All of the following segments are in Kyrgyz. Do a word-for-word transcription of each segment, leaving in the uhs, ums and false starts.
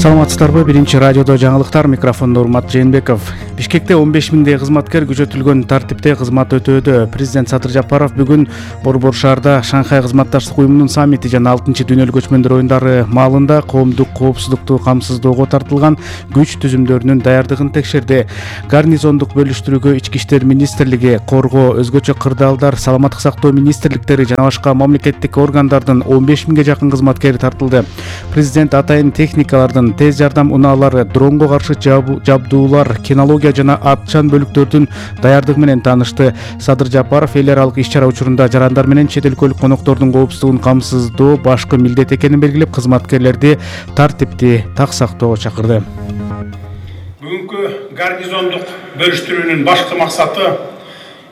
Саламатсыздарбы? Биринчи радиодо жаңылыктар, микрофондо Урмат Жээнбеков. Бишкекте он беш миңдей кызматкер күчөтүлгөн тартипте кызмат өтөөдө. Президент Садыр Жапаров бүгүн Борбор шаарда Шанхай кызматташтык уюмунун саммити жана алтынчы дүйнөлүк көчмөндөр оюндары маалында коомдук коопсуздукту камсыздоого тартылган күч түзүмдөрүнүн даярдыгын текшерди. Гарнизондук бөлүштүрүүгө Ички иштер министрлиги, Коргоо, өзгөчө кырдаалдар, Саламаттык сактоо министрликтери жана башка мамлекеттик органдардын он беш миңге жакын кызматкери тартылды. Президент атайын техникалардын, тез жардам унаалары, дронго каршы жабдуулар, кинология жана атчан бөлүктөрдүн даярдыгы менен таанышты. Садыр Жапаров эл аралык иш-чара учурунда жарандар менен чет өлкөлүк коноктордун коопсуздугун камсыздоо башкы милдет экенин белгилеп, кызматкерлерди тартипти так сактоого чакырды. Бүгүнкү гарнизондук бөлүштүрүүнүн башкы максаты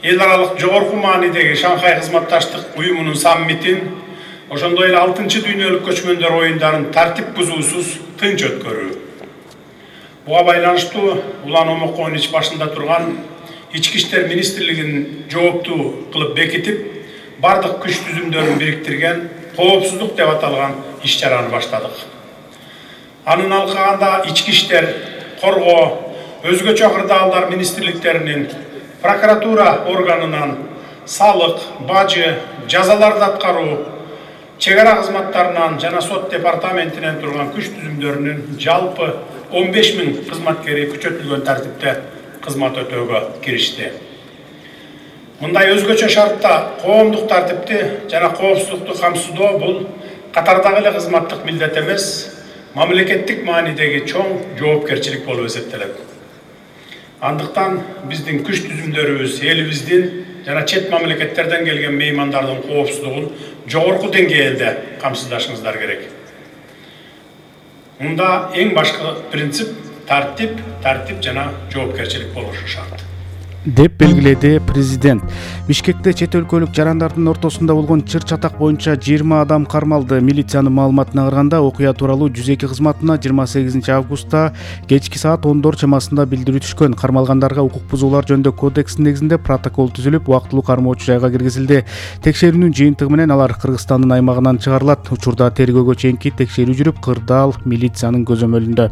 эл аралык жогорку маанидеги Шанхай кызматташтык уюмунун саммитин, ошондой эле алтынчы дүйнөлүк көчмөндөр оюндарын тартип бузуусуз тынч өткөрүү. Буга байланыштуу улан омокон ич башында турган Ички иштер министрлигин жооптуу кылып бекитип, бардык күч түзүмдөрүн бириктирген коопсуздук деп аталган иш-чараны баштадык. Анын алкагында Ички иштер, Коргоо, өзгөчө кырдаалдар министрликтеринин, прокуратура органынан, салык, бажы, жазаларды аткаруу, чек ара кызматтарынан жана сот департаментинен турган күч түзүмдөрүнүн жалпы он беш миң кызматкери күчөтүлгөн тартипте кызмат өтөөгө киришти. Мындай өзгөчө шартта коомдук тартипти жана коопсуздукту камсыздоо бул катардагы эле кызматтык милдет эмес, мамлекеттик маанидеги чоң жоопкерчилик болуп эсептелет. Андыктан биздин күч түзүмдөрүбүз элибиздин жана чет мамлекеттерден келген меймандардын коопсуздугун жогорку деңгээлде камсыздашыңыздар керек. Мында эң башкы принцип тартип, тартип жана жоопкерчилик болушу шарт, деп белгиледи президент. Бишкекте чет өлкөлүк жарандардын ортосунда болгон чыр-чатак боюнча жыйырма адам кармалды. Милициянын маалыматына караганда, окуя тууралуу жүз эки кызматына жыйырма сегизинчи августта кечки саат ондор чамасында билдирүү түшкөн. Кармалгандарга укук бузуулар жөнүндө кодекстин негизинде протокол түзүлүп, убактылуу кармоочу жайга киргизилди. Текшерүүнүн жыйынтыгы менен алар Кыргызстандын аймагынан чыгарылат. Учурда тергөөгө чейинки текшерүү жүрүп, кырдаал милициянын көзөмөлүндө.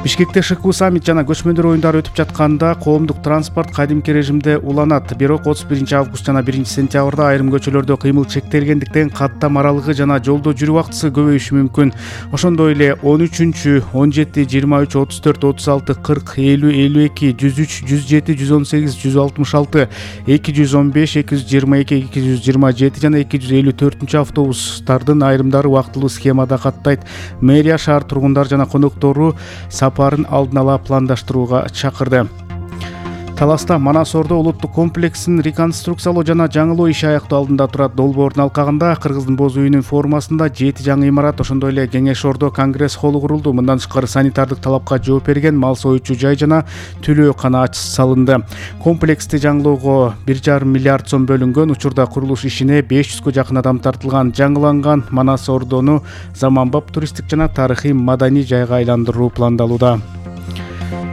Бишкекте ШКУ саммит жана көчмөндөр оюндары өтүп жатканда коомдук транспорт кадимки режимде уланат. Бирок отуз биринчи август жана биринчи сентябрда айрым көчөлөрдө кыймыл чектелгендиктен каттам аралыгы жана жолдо жүрүү убактысы көбөйүшү мүмкүн. Ошондой эле он үчүнчү, он жети, жыйырма үч, отуз төрт, отуз алты, кырк, элүү, элүү эки, жүз үч, жүз жети, жүз он сегиз, жүз алтымыш алты, эки жүз он беш, эки жүз жыйырма эки, эки жүз жыйырма жети жана эки жүз элүү төртүнчү автобустардын айрымдары убактылуу схемада каттайт. Мэрия шаар тургундар жана коноктору сапарын алдын ала пландаштырууга чакырды. Таласта Манас Ордо улуттук комплексин реконструкциялоо жана жаңылоо иши аяктоо алдында турат. Долбоордун алкагында Кыргыздын боз үйүнүн формасында жети жаңы имарат, ошондой эле Кеңеш Ордо конгресс холлу курулду. Мындан тышкары санитардык талапка жооп берген мал союучу жай жана төлөөкана салынды. Комплексти жаңылоого бир жарым миллиард сом бөлүнгөн. Учурда курулуш ишине беш жүзгө жакын адам тартылган. Жаңыланган Манас Ордону заманбап туристтик жана тарыхый маданий жайга айландыруу пландалууда.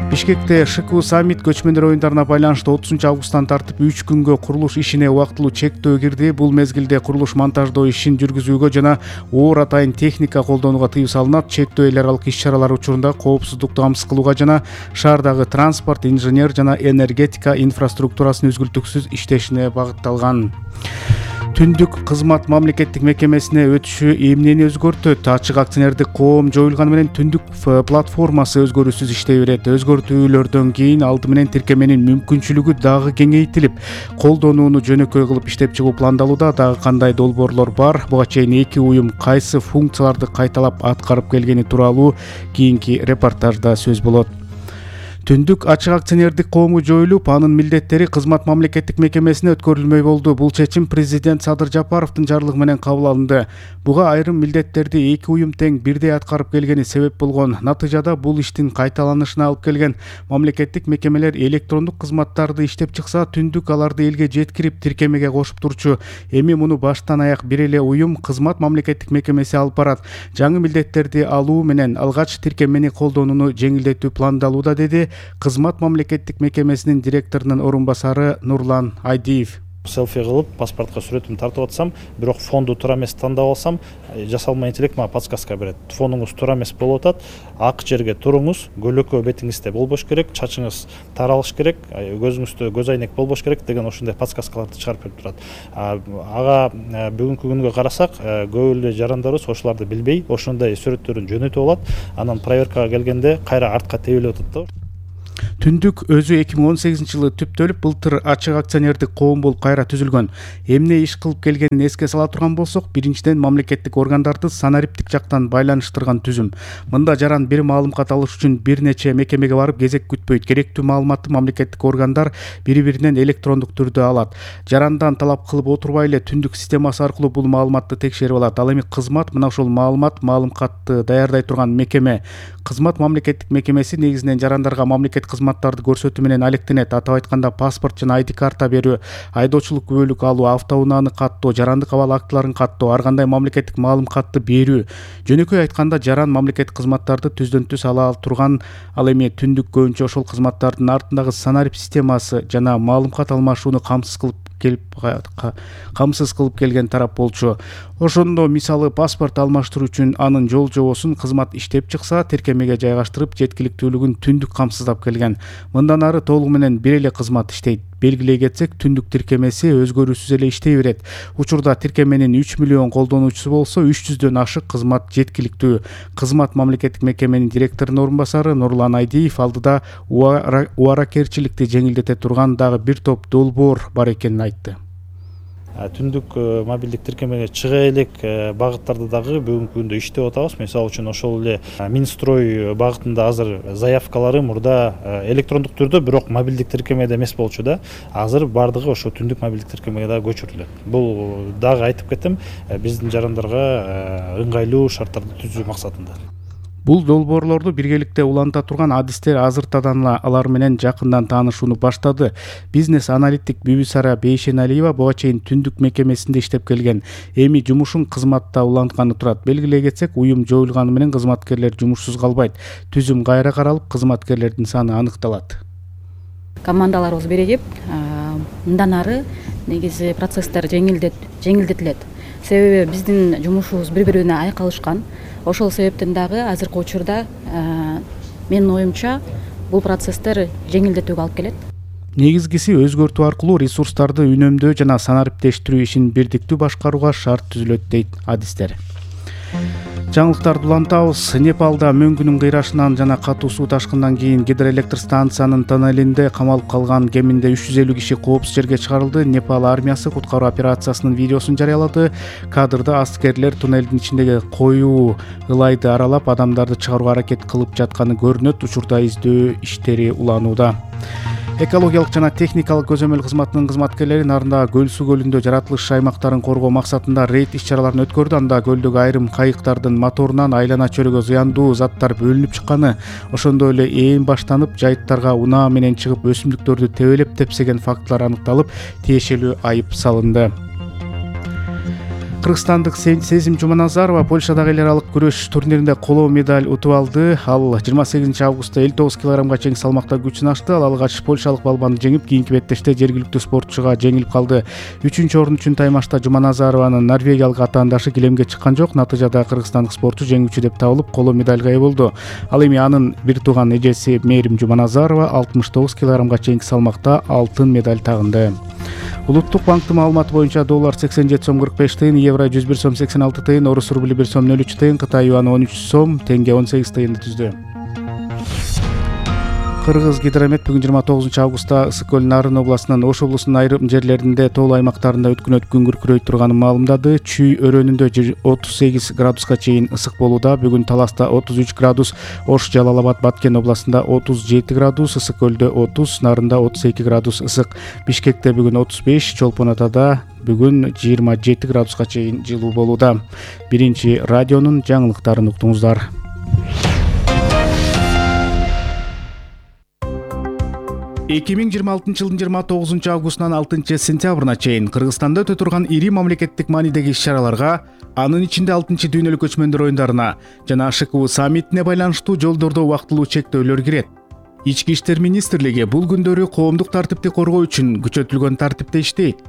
Бишкекте ШКУ саммит көчмөндөр оюндарына байланыштуу отузунчу августтан тартып үч күнгө курулуш ишине убактылуу чектөө кирди. Бул мезгилде курулуш монтаждоо ишин жүргүзүүгө жана оор атайын техника колдонууга тыюу салынат. Чектөө эл аралык иш-чаралар учурунда коопсуздукту камсыз кылууга жана шаардагы транспорт, инженер жана энергетика инфраструктурасынын үзгүлтүксүз иштешине багытталган. Түндүк кызмат мамлекеттик мекемесине өтүшү эмнени өзгөртөт? Ачык акционердик коом жоюлганы менен түндүк платформасы өзгөрүүсүз иштей берет. Өзгөртүүлөрдөн кийин алды менен тиркеменин мүмкүнчүлүгү дагы кеңейтилип, колдонууну жөнөкөй кылып иштеп чыгуу пландалууда. Дагы кандай долбоорлор бар? Буга чейин эки уюм кайсы функцияларды кайталап аткарып келгени тууралуу кийинки репортажда сөз болот. Түндүк ачык акционердик коому жоюлуп, анын милдеттери кызмат мамлекеттик мекемесине өткөрүлмөй болду. Бул чечим президент Садыр Жапаровдун жарлыгы менен кабыл алынды. Буга айрым милдеттерди эки уюм тең бирдей аткарып келгени себеп болгон. Натыйжада бул иштин кайталанышына алып келген. Мамлекеттик мекемелер электрондук кызматтарды иштеп чыкса, түндүк аларды элге жеткирип тиркемеге кошуп турчу. Эми муну баштан аяк бир эле уюм кызмат мамлекеттик мекемеси алып барат. Жаңы милдеттерди алуу менен алгач тиркемени колдонууну жеңилдетүү пландалууда, деди кызмат мамлекеттик мекемесинин директорунун орун басары Нурлан Айдиев. селфи кылып паспортко сүрөтүмдү тартып атсам, бирок фонду туура эмес тандап алсам, жасалма интеллект мага подсказка берет. Фонуңуз туура эмес болуп атат, ак жерге туруңуз, көлөкө бетиңизде болбош керек, чачыңыз таралыш керек, көзүңүздө көз айнек болбош керек деген ошондой подсказкаларды чыгарып берип турат. Ага бүгүнкү күнгө карасак, көп эле жарандарыбыз ошолорду билбей, ошондой сүрөттөрүн жөнөтүп алат, анан проверкага келгенде кайра артка тебелеп атат да. Түндүк өзү эки миң он сегизинчи жылы түптөлүп, былтыр ачык акционердик коом болуп кайра түзүлгөн. Эмне иш кылып келгенин эске сала турган болсок, биринчиден мамлекеттик органдарды санариптик жактан байланыштырган түзүм. Мында жаран бир маалымат алыш үчүн бир нече мекемеге барып кезек күтпөйт. Керектүү маалыматты мамлекеттик органдар бири-биринен электрондук түрдө алат. Жарандан талап кылып отурбай эле түндүк системасы аркылуу бул маалыматты текшерип алат. Ал эми кызмат мына ошол маалымат, маалымкатты даярдай турган мекеме. Кызмат мамлекеттик мекемеси негизинен жарандарга мамлекет кызматтарды көрсөтүү менен алектенет. Атап айтканда, паспорт жана ай ди карта берүү, айдоочулук күбөлүк алуу, автоунааны каттоо, жарандык абал актыларын каттоо, ар кандай мамлекеттик маалымкатты берүү. Жөнөкөй айтканда, жаран мамлекеттик кызматтарды түздөн түз ала турган, ал эми түндүк көбүнчө ошол кызматтардын артындагы санарип системасы жана маалымкат алмашууну камсыз кылып келип камсыз кылып келген тарап болчу. Ошондо мисалы паспорт алмаштыруу үчүн анын жол жобосун кызмат иштеп чыкса, тиркемеге жайгаштырып, жеткиликтүүлүгүн түндүк камсыздап келген. Мындан ары толугу менен бир эле кызмат иштейт. Белгилей кетсек, түндүк тиркемеси өзгөрүүсүз эле иштей берет. Учурда тиркеменин үч миллион колдонуучусу болсо, үч жүздөн ашык кызмат жеткиликтүү. Кызмат мамлекеттик мекеменин директорунун орун басары Нурлан Айдиев алдыда убаракерчиликти жеңилдете турган дагы бир топ долбоор бар экенин айтты. Түндүк мобилдик тиркемеге чыга элек багыттарды дагы бүгүнкү күндө иштеп атабыз. Мисалы үчүн ошол эле Минстрой багытында азыр заявкалары мурда электрондук түрдө, бирок мобилдик тиркемеде эмес болчу да. Азыр бардыгы ошо түндүк мобилдик тиркемеге дагы көчүрүлөт. Бул дагы айтып кетем, биздин жарандарга ыңгайлуу шарттарды түзүү максатында. Бул долбоорлорду биргеликте уланта турган адистер азыртадан алар менен жакындан таанышууну баштады. Бизнес-аналитик Бүбүсара Бейшеналиева буга чейин түндүк мекемесинде иштеп келген. Эми жумушун кызматта улантканы турат. Белгилей кетсек, уюм жоюлганы менен кызматкерлер жумушсуз калбайт. Түзүм кайра каралып, кызматкерлердин саны аныкталат. Командаларыбыз биригип, мындан ары негизи процесстер жеңилдетилет. Себеби биздин жумушубуз бири-бирине айкалышкан. Ошол себептен дагы азыркы учурда менин оюмча бул процесстер жеңилдетүүгө алып келет. Негизгиси өзгөртүү аркылуу ресурстарды үнөмдөө жана санариптештирүү ишин бирдиктүү башкарууга шарт түзүлөт дейт адистер. Жаңылыктарды улантабыз. Непалда мөңгүнүн кыйрашынан жана катуу суу ташкындан кийин гидроэлектр станциянын тоннелинде камалып калган кеминде үч жүз элүү киши коопсуз жерге чыгарылды. Непал армиясы куткаруу операциясынын видеосун жарыялады. Кадрда аскерлер туннелдин ичиндеги коюу ылайды аралап, адамдарды чыгарууга аракет кылып жатканы көрүнөт. Учурда издөө иштери уланууда. Экологиялык жана техникалык көзөмөл кызматынын кызматкерлери Нарындагы Көл суу көлүндө жаратылыш аймактарын коргоо максатында рейд иш-чараларын өткөрдү. Анда көлдөгү айрым кайыктардын моторунан айлана чөйрөгө зыяндуу заттар бөлүнүп чыкканы, ошондой эле ээн баштанып, жайыттарга унаа менен чыгып өсүмдүктөрдү тебелеп тепсеген фактылар аныкталып, тиешелүү айып салынды. Кыргызстандык Сезим Жуманазарова Польшадагы эл аралык күрөш турниринде коло медаль утуп алды. Ал жыйырма сегизинчи августта элүү тогуз килограммга чейин салмакта күч сынашты. Ал алгач польшалык балбанды жеңип, кийинки беттеште жергиликтүү спортчуга жеңилип калды. Үчүнчү орун үчүн таймашта Жуманазарованын норвегиялык атаандашы килемге чыккан жок. Натыйжада кыргызстандык спортчу жеңүүчү деп табылып, коло медальга ээ болду. Ал эми анын бир тууган эжеси Мээрим Жуманазарова алтымыш тогуз килограммга чейинки салмакта алтын медаль тагынды. Улуттук банктын маалыматы боюнча доллар сексен жети сом кырк беш тыйын, евро жүз бир сом сексен алты тыйын, орус рубли бир сом нөл үч тыйын, Кытай юаны он үч сом, тенге он сегиз тыйынды түздү. Кыргыз гидромет бүгүн жыйырма тогузунчу августта Ысык көл Нарын областынын Ош облусунун айрым жерлеринде тоо аймактарында өткөн күн күркүрөй турганын маалымдады. Чүй өрөөнүндө отуз сегиз градуска чейин ысык болууда. Бүгүн Таласта отуз үч градус, Ош, Жалал Абад, Баткен областында отуз жети градус, Ысык көлдө отуз, Нарында отуз эки градус ысык. Бишкекте бүгүн отуз беш, Чолпон Атада бүгүн жыйырма жети градуска чейин жылуу болууда. Биринчи радионун жаңылыктарын уктуңуздар. эки миң жыйырма алтынчы жылдын жыйырма тогузунчу августунан алтынчы сентябрына чейин Кыргызстанда өтө турган ири мамлекеттик маанидеги иш-чараларга, анын ичинде алтынчы дүйнөлүк көчмөндөр оюндарына жана аш к у саммитине байланыштуу жолдордо убактылуу чектөөлөр кирет. Ички иштер министрлиги бул күндөрү коомдук тартипти коргоо үчүн күчөтүлгөн тартипте иштейт.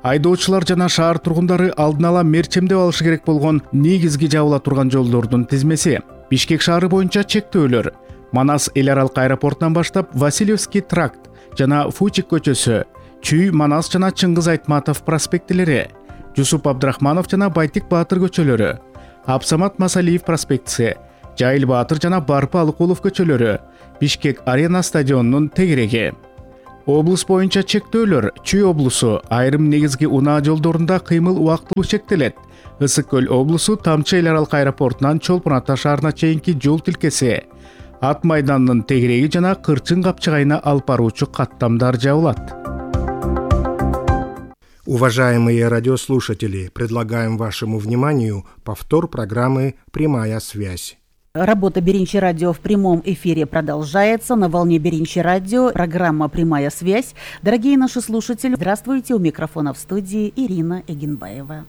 Айдоочулар жана шаар тургундары алдын ала мерчемдеп алышы керек болгон негизги жабыла турган жолдордун тизмеси. Бишкек шаары боюнча чектөөлөр. Манас эл аралык аэропортунан баштап Васильевский тракт жана Фучик көчөсү, Чүй, Манас жана Чыңгыз Айтматов проспектилери, Жусуп Абдрахманов жана Байтик Баатыр көчөлөрү, Абсамат Масалиев проспектиси, Жайыл Баатыр жана Барпы Алыкулов көчөлөрү, Бишкек арена стадионунун тегереги. Облус боюнча чектөөлөр. Чүй облусу айрым негизги унаа жолдорунда кыймыл убактылуу чектелет. Ысык көл облусу Тамчы эл аралык аэропортунан Чолпон Ата шаарына чейинки жол тилкеси, Ат майданынын тегереги жана Кырчын капчыгайына алып баруучу каттамдар жабылат. Уважаемые радиослушатели, предлагаем вашему вниманию повтор программы «Прямая связь». Работа Беринчи радио в прямом эфире продолжается. На волне Беринчи радио программа «Прямая связь». Дорогие наши слушатели, здравствуйте. У микрофона в студии Ирина Эгенбаева.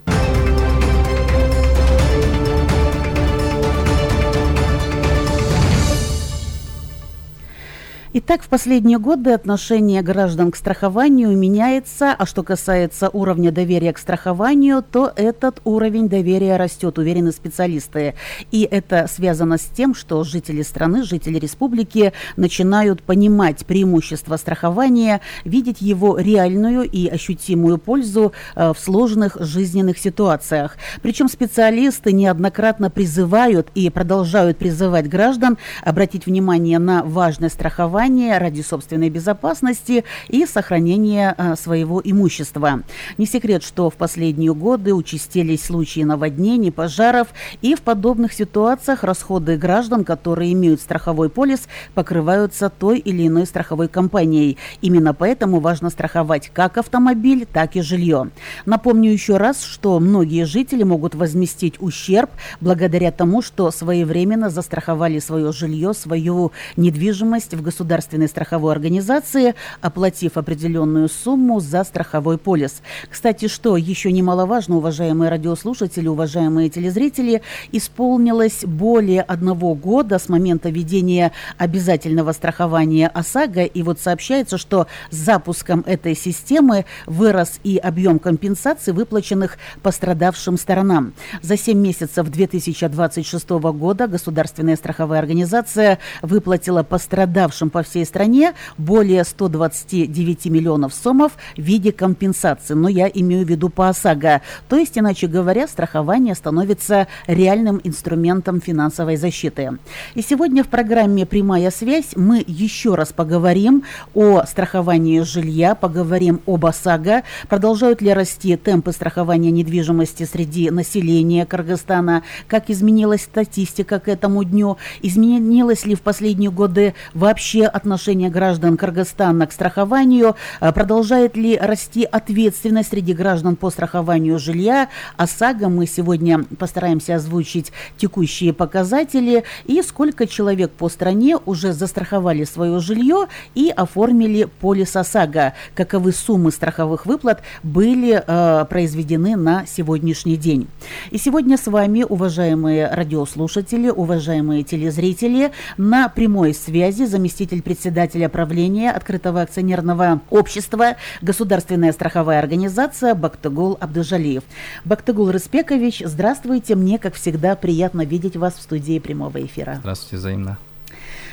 Итак, в последние годы отношение граждан к страхованию меняется, а что касается уровня доверия к страхованию, то этот уровень доверия растет, уверены специалисты. И это связано с тем, что жители страны, жители республики начинают понимать преимущества страхования, видеть его реальную и ощутимую пользу в сложных жизненных ситуациях. Причем специалисты неоднократно призывают и продолжают призывать граждан обратить внимание на важность страхования ради собственной безопасности и сохранения а, своего имущества. Не секрет, что в последние годы участились случаи наводнений, пожаров, и в подобных ситуациях расходы граждан, которые имеют страховой полис, покрываются той или иной страховой компанией. Именно поэтому важно страховать как автомобиль, так и жилье. Напомню еще раз, что многие жители могут возместить ущерб благодаря тому, что своевременно застраховали свое жилье, свою недвижимость в государственном государственной страховой организации, оплатив определенную сумму за страховой полис. Кстати, что еще немаловажно, уважаемые радиослушатели, уважаемые телезрители, исполнилось более одного года с момента введения обязательного страхования ОСАГО, и вот сообщается, что с запуском этой системы вырос и объем компенсаций, выплаченных пострадавшим сторонам. За семь месяцев две тысячи двадцать шестого года государственная страховая организация выплатила пострадавшим по всей стране более ста двадцати девяти миллионов сомов в виде компенсации. Но я имею в виду по ОСАГО. То есть, иначе говоря, страхование становится реальным инструментом финансовой защиты. И сегодня в программе «Прямая связь» мы еще раз поговорим о страховании жилья, поговорим об ОСАГО. Продолжают ли расти темпы страхования недвижимости среди населения Кыргызстана? Как изменилась статистика к этому дню? Изменилось ли в последние годы вообще отношение граждан Кыргызстана к страхованию? Продолжает ли расти ответственность среди граждан по страхованию жилья? ОСАГО мы сегодня постараемся озвучить текущие показатели и сколько человек по стране уже застраховали свое жилье и оформили полис ОСАГО. Каковы суммы страховых выплат были э, произведены на сегодняшний день. И сегодня с вами, уважаемые радиослушатели, уважаемые телезрители, на прямой связи заместитель председателя правления Открытого акционерного общества «Государственная страховая организация» Бактыгул Абдыжалиев. Бактыгул Рыспекович, здравствуйте. Мне, как всегда, приятно видеть вас в студии прямого эфира. Здравствуйте, взаимно.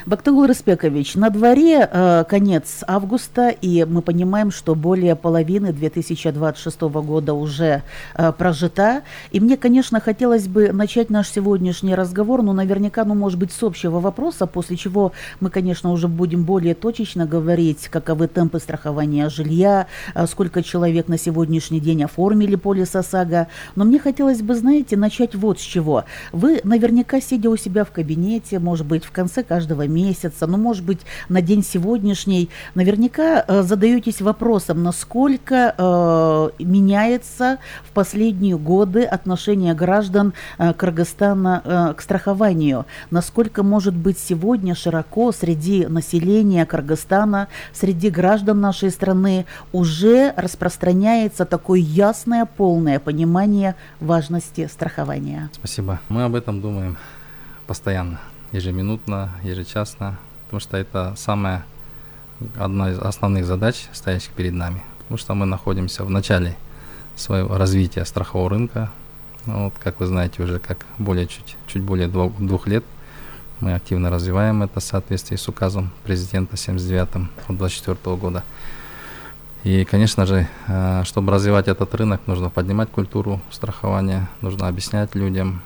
Бактыгул Рыспекович, на дворе э, конец августа, и мы понимаем, что более половины две тысячи двадцать шестого года уже э, прожита. И мне, конечно, хотелось бы начать наш сегодняшний разговор, но наверняка, ну, может быть, с общего вопроса, после чего мы, конечно, уже будем более точечно говорить, каковы темпы страхования жилья, э, сколько человек на сегодняшний день оформили полис ОСАГО. Но мне хотелось бы, знаете, начать вот с чего. Вы наверняка, сидя у себя в кабинете, может быть, в конце каждого месяца, ну, может быть, на день сегодняшний, наверняка э, задаетесь вопросом, насколько э, меняется в последние годы отношение граждан э, Кыргызстана э, к страхованию, насколько, может быть, сегодня широко среди населения Кыргызстана, среди граждан нашей страны уже распространяется такое ясное, полное понимание важности страхования. Спасибо. Мы об этом думаем постоянно. Ежеминутно, ежечасно, потому что это самая, одна из основных задач, стоящих перед нами, потому что мы находимся в начале своего развития страхового рынка. Вот, как вы знаете, уже как более чуть, чуть более двух, двух лет мы активно развиваем это в соответствии с указом президента семьдесят девятым от двадцать четвёртого года. И, конечно же, чтобы развивать этот рынок, нужно поднимать культуру страхования, нужно объяснять людям.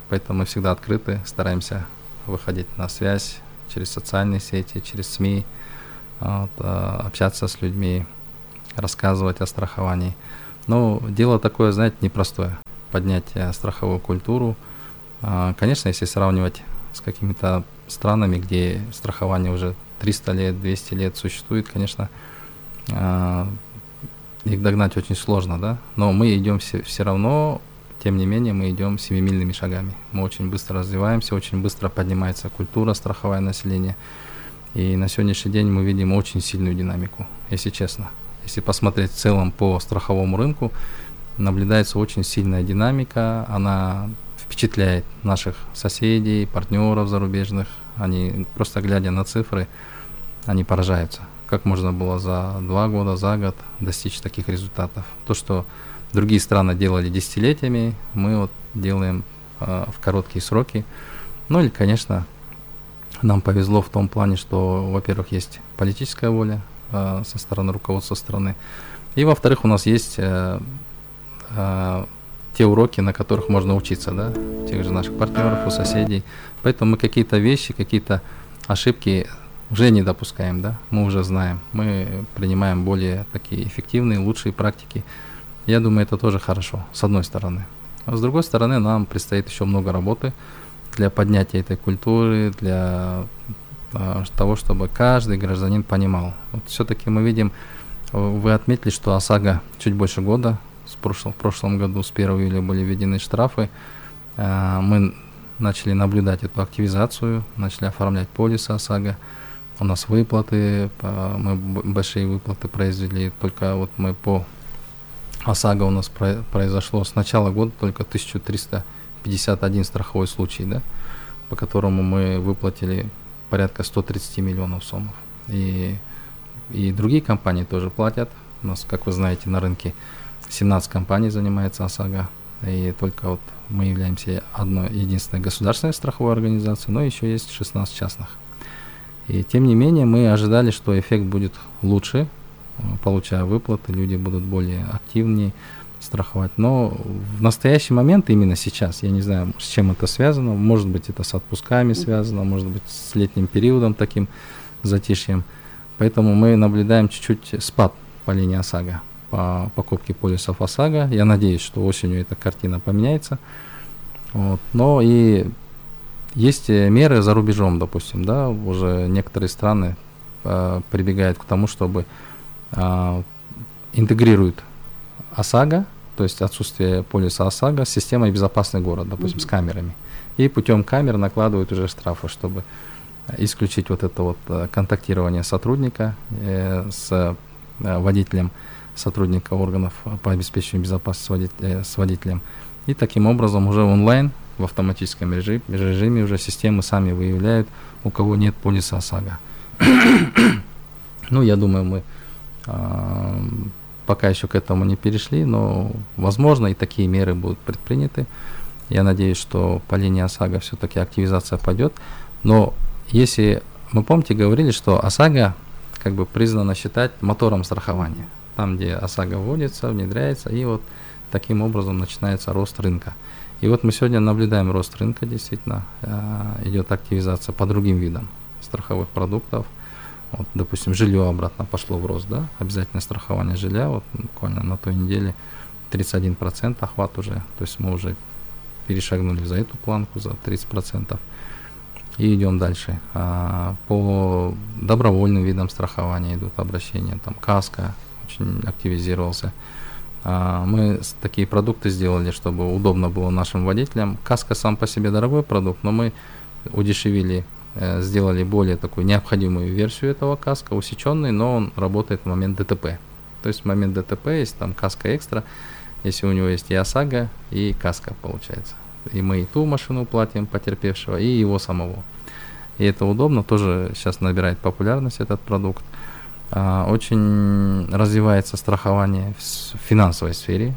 Поэтому мы всегда открыты, стараемся выходить на связь через социальные сети, через СМИ, вот, общаться с людьми, рассказывать о страховании. Но дело такое, знаете, непростое. Поднять страховую культуру. Конечно, если сравнивать с какими-то странами, где страхование уже триста лет, двести лет существует, конечно, их догнать очень сложно, да. Но мы идем все, все равно, тем не менее, мы идем семимильными шагами. Мы очень быстро развиваемся, очень быстро поднимается культура страховая населения. И на сегодняшний день мы видим очень сильную динамику, если честно. Если посмотреть в целом по страховому рынку, наблюдается очень сильная динамика, она впечатляет наших соседей, партнеров зарубежных. Они, просто глядя на цифры, они поражаются, как можно было за два года, за год достичь таких результатов. То, что другие страны делали десятилетиями, мы вот делаем э, в короткие сроки. Ну или, конечно, нам повезло в том плане, что, во-первых, есть политическая воля э, со стороны руководства страны, и, во-вторых, у нас есть э, э, те уроки, на которых можно учиться, да, у тех же наших партнеров, у соседей. Поэтому мы какие-то вещи, какие-то ошибки уже не допускаем, да, мы уже знаем, мы принимаем более такие эффективные, лучшие практики. Я думаю, это тоже хорошо, с одной стороны. А с другой стороны, нам предстоит еще много работы для поднятия этой культуры, для а, того, чтобы каждый гражданин понимал. Вот все-таки мы видим, вы отметили, что ОСАГО чуть больше года, с прошлого, в прошлом году с первого июля были введены штрафы. А, мы начали наблюдать эту активизацию, начали оформлять полисы ОСАГО. У нас выплаты, мы большие выплаты произвели, только вот мы по ОСАГО у нас произошло с начала года только тысяча триста пятьдесят один страховой случай, да, по которому мы выплатили порядка сто тридцать миллионов сомов. И, и другие компании тоже платят. У нас, как вы знаете, на рынке семнадцать компаний занимается ОСАГО, и только вот мы являемся одной единственной государственной страховой организацией, но еще есть шестнадцать частных. И тем не менее мы ожидали, что эффект будет лучше, получая выплаты, люди будут более активнее страховать. Но в настоящий момент, именно сейчас, я не знаю, с чем это связано, может быть, это с отпусками связано, может быть, с летним периодом таким затишьем. Поэтому мы наблюдаем чуть-чуть спад по линии ОСАГО, по покупке полисов ОСАГО. Я надеюсь, что осенью эта картина поменяется. Вот. Но и есть меры за рубежом, допустим, да, уже некоторые страны э, прибегают к тому, чтобы э, интегрируют ОСАГО, то есть отсутствие полиса ОСАГО с системой «Безопасный город», допустим, mm-hmm. с камерами. И путем камер накладывают уже штрафы, чтобы исключить вот это вот контактирование сотрудника э, с э, водителем, сотрудника органов по обеспечению безопасности с, водитель, с водителем. И таким образом уже онлайн, в автоматическом режиме, режиме уже системы сами выявляют, у кого нет полиса ОСАГО. Ну, я думаю, мы э, пока еще к этому не перешли, но, возможно, и такие меры будут предприняты. Я надеюсь, что по линии ОСАГО все-таки активизация пойдет. Но если, мы помните, говорили, что ОСАГО как бы признано считать мотором страхования. Там, где ОСАГО вводится, внедряется, и вот таким образом начинается рост рынка. И вот мы сегодня наблюдаем рост рынка, действительно, э, идет активизация по другим видам страховых продуктов. Вот, допустим, жилье обратно пошло в рост, да, обязательное страхование жилья, вот буквально на той неделе тридцать один процент охват уже, то есть мы уже перешагнули за эту планку, за тридцать процентов, и идем дальше. А, по добровольным видам страхования идут обращения, там каска очень активизировался. А, мы такие продукты сделали, чтобы удобно было нашим водителям. Каска сам по себе дорогой продукт, но мы удешевили, э, сделали более такую необходимую версию этого каска, усеченный, но он работает в момент ДТП. То есть в момент ДТП есть там каска экстра, если у него есть и ОСАГО, и каска получается. И мы и ту машину платим потерпевшего, и его самого. И это удобно, тоже сейчас набирает популярность этот продукт. Очень развивается страхование в финансовой сфере,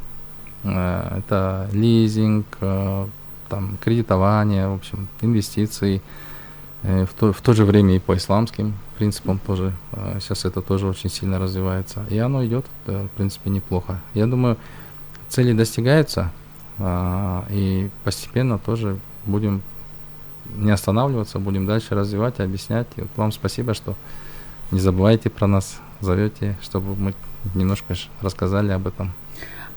Это лизинг, там, кредитование, в общем, инвестиции. В то, в то же время и по исламским принципам тоже. Сейчас это тоже очень сильно развивается. И оно идет, в принципе, неплохо. Я думаю, цели достигаются, и постепенно тоже будем не останавливаться, будем дальше развивать, объяснять. И вот вам спасибо, что не забывайте про нас, зовете, чтобы мы немножко рассказали об этом.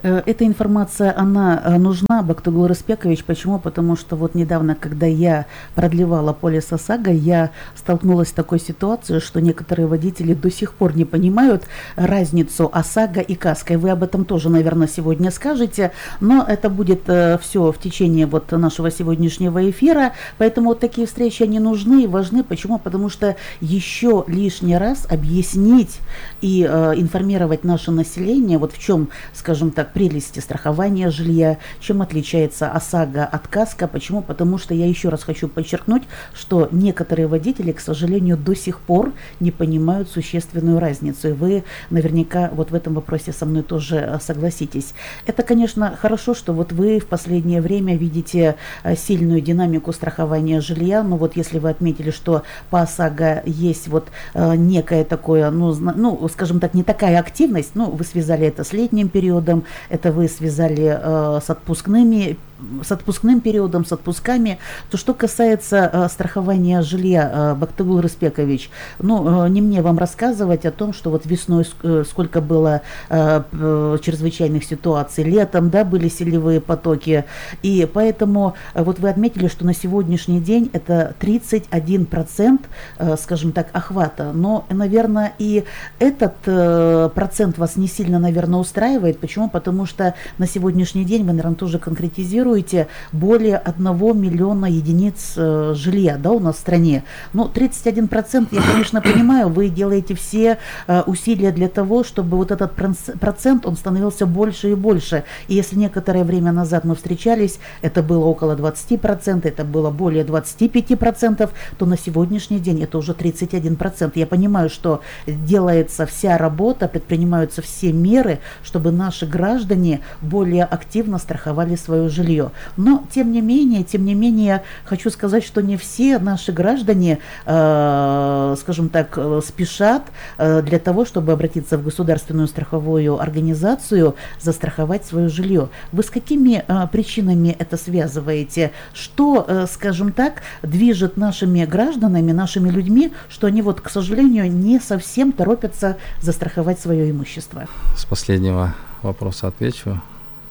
Эта информация, она нужна, Бактыгул Рыспекович. Почему? Потому что вот недавно, когда я продлевала полис ОСАГО, я столкнулась с такой ситуацией, что некоторые водители до сих пор не понимают разницу ОСАГО и КАСКО. И вы об этом тоже, наверное, сегодня скажете, но это будет э, все в течение вот нашего сегодняшнего эфира. Поэтому вот такие встречи, они нужны и важны. Почему? Потому что еще лишний раз объяснить и э, информировать наше население, вот в чем, скажем так, прелести страхования жилья, чем отличается ОСАГО от КАСКО. Почему? Потому что я еще раз хочу подчеркнуть, что некоторые водители, к сожалению, до сих пор не понимают существенную разницу. И вы наверняка вот в этом вопросе со мной тоже согласитесь. Это, конечно, хорошо, что вот вы в последнее время видите сильную динамику страхования жилья. Но вот если вы отметили, что по ОСАГО есть вот некое такое, ну, ну, скажем так, не такая активность, ну, вы связали это с летним периодом, это вы связали э, с отпускными, с отпускным периодом, с отпусками. То, что касается э, страхования жилья, э, Бактыгул Рыспекович, ну, э, не мне вам рассказывать о том, что вот весной э, сколько было э, э, чрезвычайных ситуаций, летом, да, были селевые потоки, и поэтому э, вот вы отметили, что на сегодняшний день это тридцать один процент, э, скажем так, охвата, но, наверное, и этот э, процент вас не сильно, наверное, устраивает. Почему? Потому что на сегодняшний день, вы, наверное, тоже конкретизируете, более одного миллиона единиц э, жилья, да, у нас в стране. Ну, тридцать один процент, я, конечно, понимаю, вы делаете все э, усилия для того, чтобы вот этот процент, он становился больше и больше. И если некоторое время назад мы встречались, это было около двадцать процентов, это было более двадцать пять процентов, то на сегодняшний день это уже тридцать один процент. Я понимаю, что делается вся работа, предпринимаются все меры, чтобы наши граждане более активно страховали свое жилье. Но, тем не менее, тем не менее, хочу сказать, что не все наши граждане, э, скажем так, спешат э, для того, чтобы обратиться в государственную страховую организацию, застраховать свое жилье. Вы с какими э, причинами это связываете? Что, э, скажем так, движет нашими гражданами, нашими людьми, что они, вот, к сожалению, не совсем торопятся застраховать свое имущество? С последнего вопроса отвечу.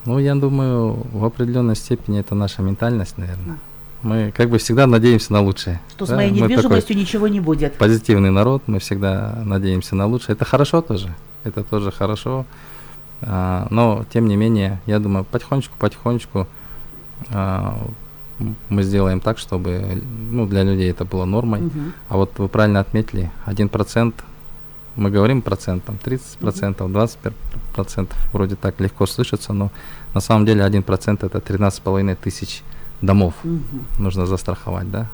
Ну, я думаю, в определенной степени это наша ментальность, наверное. Мы как бы всегда надеемся на лучшее. Что да? С моей недвижимостью ничего не будет. Позитивный народ, мы всегда надеемся на лучшее. Это хорошо тоже, это тоже хорошо. А, но, тем не менее, я думаю, потихонечку-потихонечку а, мы сделаем так, чтобы, ну, для людей это было нормой. Угу. А вот вы правильно отметили, один процент, мы говорим процентом, тридцать процентов, двадцать процентов, вроде так легко слышится, но на самом деле один процент это тринадцать с половиной тысяч домов угу. нужно застраховать, да.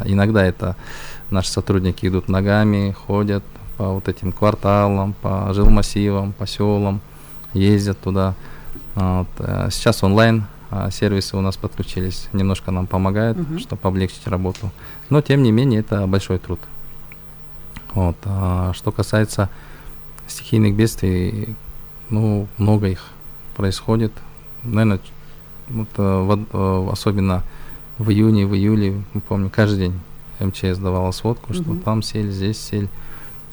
Иногда это наши сотрудники идут ногами, ходят по вот этим кварталам, по жилмассивам, по селам, ездят туда. Вот. Сейчас онлайн сервисы у нас подключились, немножко нам помогают, угу. чтобы облегчить работу, но тем не менее это большой труд. Вот. А что касается стихийных бедствий, ну, много их происходит. Наверное, вот, в, особенно в июне, в июле, мы помним, каждый день МЧС давала сводку, что mm-hmm. там сель, здесь сель.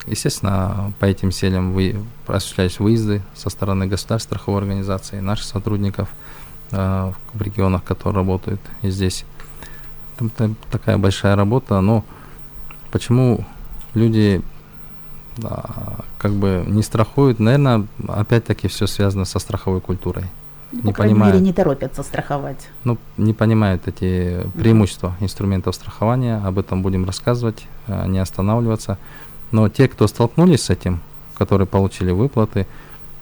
Естественно, по этим селям вы, осуществлялись выезды со стороны государственной страховой организации, наших сотрудников э, в регионах, которые работают и здесь. Там, там такая большая работа, но почему люди да, как бы не страхуют, наверное, опять-таки все связано со страховой культурой. Ну, не по крайней понимают, мере, не торопятся страховать. Ну, не понимают эти преимущества mm-hmm. инструментов страхования, об этом будем рассказывать, не останавливаться. Но те, кто столкнулись с этим, которые получили выплаты,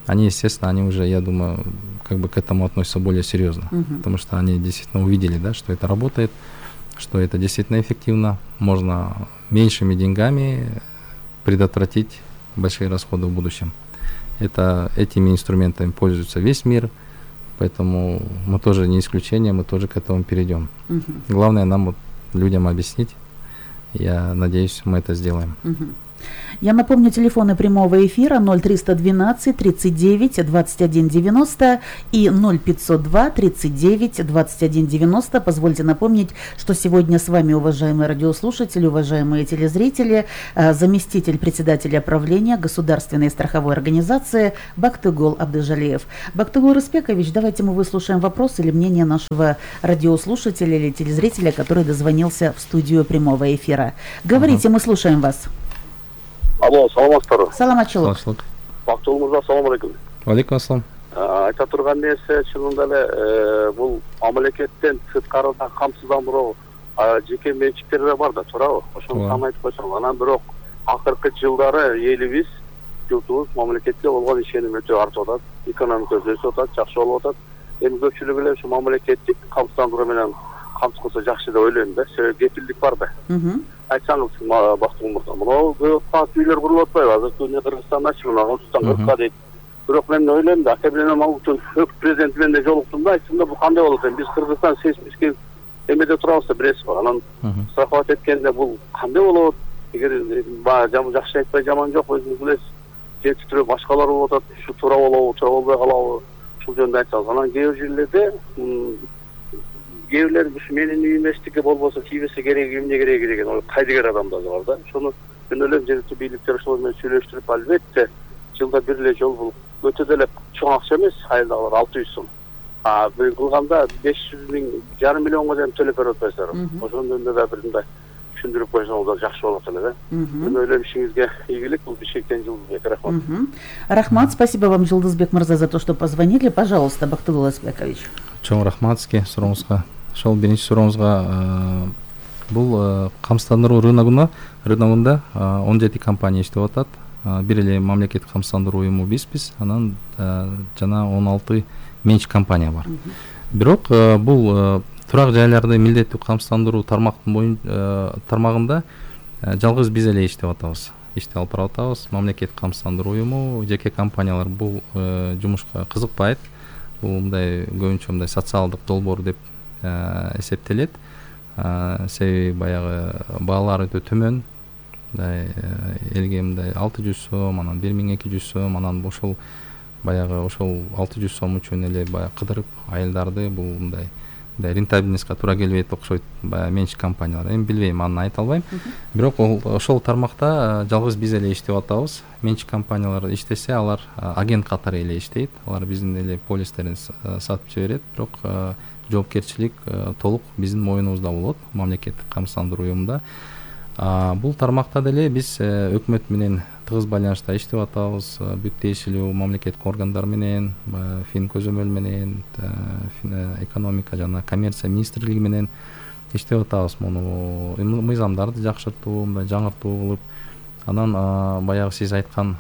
они, естественно, они уже, я думаю, как бы к этому относятся более серьезно, mm-hmm. потому что они действительно увидели, да, что это работает, что это действительно эффективно, можно меньшими деньгами предотвратить большие расходы в будущем. Это, этими инструментами пользуется весь мир, Поэтому мы тоже не исключение, мы тоже к этому перейдем. Угу. Главное нам вот людям объяснить. Я надеюсь, мы это сделаем. Угу. Я напомню, телефоны прямого эфира ноль триста двенадцать тридцать девять двадцать один девяносто и ноль пятьсот два тридцать девять двадцать один девяносто. Позвольте напомнить, что сегодня с вами, уважаемые радиослушатели, уважаемые телезрители, заместитель председателя правления Государственной страховой организации Бактыгул Абдыжалиев. Бактыгул Рыспекович, давайте мы выслушаем вопрос или мнение нашего радиослушателя или телезрителя, который дозвонился в студию прямого эфира. Говорите, uh-huh. мы слушаем вас. Алло, саламатсыздарбы? Саламатчылык. Бактыгул мырза, салам алейкум. Алейкум ассалам. Айта турган нерсе чынында эле бул мамлекеттен сырткарыда камсыздандыруу жеке менчиктерде бар да, туурабы? Ошону сан айтып койсоң, анан бирок акыркы жылдары элибиз, журтубуз мамлекетке болгон ишеним өтө артып атат, экономика өсүп атат, жакшы болуп атат. Эми көпчүлүк эле ушу мамлекеттик камсыздандыруу менен камсыз кылса жакшы деп ойлойм да, себеби кепилдик бар да. Айтсаңыз, Бактыгул мырза, мынау көпкат үйлөр курулуп атпайбы? Азыркы күндө Кыргызстанда чыгына, Кыргызстан кыркка дейт. Бирок мен ойлойм да, аке менен ал үчүн өк президент менен да жолуктум да, айтсам да бул кандай болот экен? Биз Кыргызстан сейсмический эмеде турабыз да, билесизби? Анан страховать эткенде бул кандай болот? Эгер жакшы айтпай жаман жок, өзүңүз билесиз. Жетиштирүү башкалар болуп атат, ушу туура болобу, туура болбой калабы? Ушул жөнүндө айтсаңыз. Анан кээ бир жерлерде кээ бирлер ушу менин үйүм эчтеке болбосо тийбесе кереги, эмне кереги деген ой кайдыгер адамдар бар да. Ошону мен ойлойм, жергиликтүү бийликтер ошол менен сүйлөштүрүп, албетте жылда бир эле жол бул өтө деле чоң акча эмес, айылдагылар алты жүз сом. А бир кылганда беш жүз миң, жарым миллионго чейин төлөп берип атпайсыздарбы? Ошонун жөнүндө да бир мындай түшүндүрүп койсоңуз да жакшы болот эле да. Мен ойлойм, ишиңизге ийгилик, бул Бишкектен Жылдызбек. Рахмат. Рахмат, спасибо вам, Жылдызбек мырза, за то, что позвонили. Пожалуйста, Бактыгул Рыспекович. Чоң рахмат сизге сурооңузга. Ошол биринчи сурооңузга, бул камсыздандыруу рыногуна рыногунда он жети компания иштеп атат. Бир эле мамлекеттик камсыздандыруу уюму бизбиз, анан жана он алты менчик компания бар. Бирок бул турак жайларды милдеттүү камсыздандыруу тармактын тармагында жалгыз биз эле иштеп атабыз. Иштеп алып барып атабыз. Мамлекеттик камсыздандыруу уюму, жеке компаниялар бул жумушка кызыкпайт. Бул мындай көбүнчө мындай социалдык долбоор деп эсептелет. Себеби баягы баалар өтө төмөн. Мындай элге мындай алты жүз сом, анан бир миң эки жүз сом, анан ошол баягы ошол алты жүз сом үчүн эле баягы кыдырып айылдарды бул мындай мындай рентабельностька туура келбейт окшойт баягы менчик компаниялар. Эми билбейм, аны айта албайм. Бирок ошол тармакта жалгыз биз эле иштеп атабыз. Менчик компаниялар иштесе, алар агент катары эле иштейт. Алар биздин эле полистерин сатып жиберет, бирок жоопкерчилик толук биздин моюнубузда болот, мамлекеттик камсыздандыруу уюмунда. Бул тармакта деле биз өкмөт менен тыгыз байланышта иштеп атабыз. Бүт тиешелүү мамлекеттик органдар менен, фин көзөмөл менен, экономика жана коммерция министрлиги менен иштеп атабыз. Муну мыйзамдарды жакшыртуу, мындай жаңыртуу кылып, анан баягы сиз айткан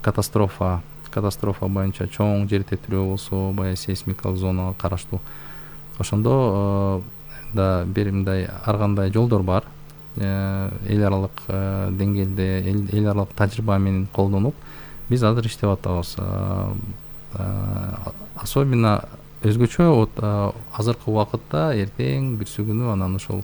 катастрофа, катастрофа боюнча чоң жер титирөө болсо, баягы сейсмикалык зонага караштуу. Ошондо да бир мындай ар кандай жолдор бар. Эл аралык деңгээлде, эл аралык тажрыйба менен колдонуп, биз азыр иштеп атабыз. Особенно өзгөчө вот азыркы убакытта эртең бирсү күнү анан ошол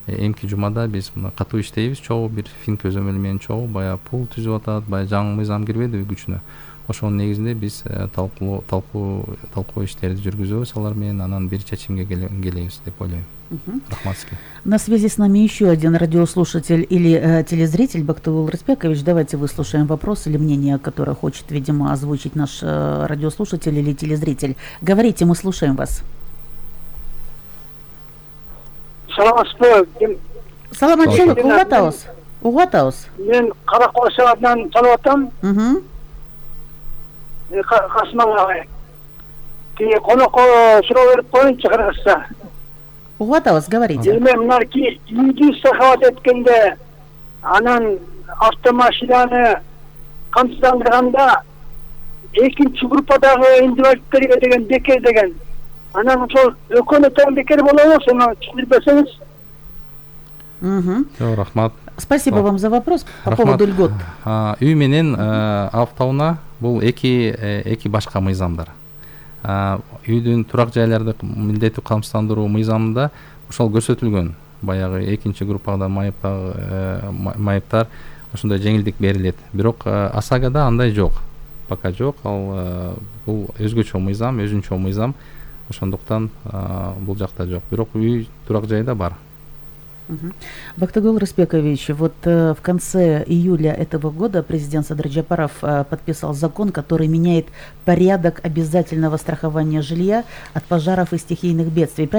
эмки жумада биз катуу иштейбиз, чогуу бир фин көзөмөл менен чогуу баягы пул түзүп атат, баягы жаңы мыйзам кирбеди күчүнө. Ошонун негизинде биз талкуу талкуу талкуу иштерди жүргүзөбүз алар менен, анан бир чечимге келебиз деп ойлойм. Рахмат сизге. На связи с нами еще один радиослушатель или э, телезритель. Бактыгул Рыспекович, давайте выслушаем вопрос или мнение, которое хочет, видимо, озвучить наш э, радиослушатель или телезритель. Говорите, мы слушаем вас. Саламатчылык, угатабыз. Угатабыз. Мен Каракол шаарынан талап атам. Касмага тиги конокко суроо берип коеюнчу Кыргызста. Угатабыз, говорите. Эми мынарки үйдү страховать эткенде, анан автомашинаны камсыздандырганда экинчи группадагы инвалидтерге деген бекер деген. Анан ошол экөөнө тең бекер болобу, сону түшүндүрүп берсеңиз. Угу. Рахмат. Спасибо вам за вопрос по поводу льгот. Үй менен автоунаа бул эки эки башка мыйзамдар. үйдүн турак жайларды милдеттүү камсыздандыруу мыйзамында ошол көрсөтүлгөн. Баягы экинчи группада майыптар ошондой жеңилдик берилет. Бирок ОСАГОда андай жок. Пока жок. Ал бул өзгөчө мыйзам, өзүнчө мыйзам. Ошондуктан бул жакта жок. Бирок үй турак жайда бар. Бактыгул Рыспекович, вот в конце июля этого года президент Садыр Джапаров подписал закон, который меняет порядок обязательного страхования жилья от пожаров и стихийных бедствий.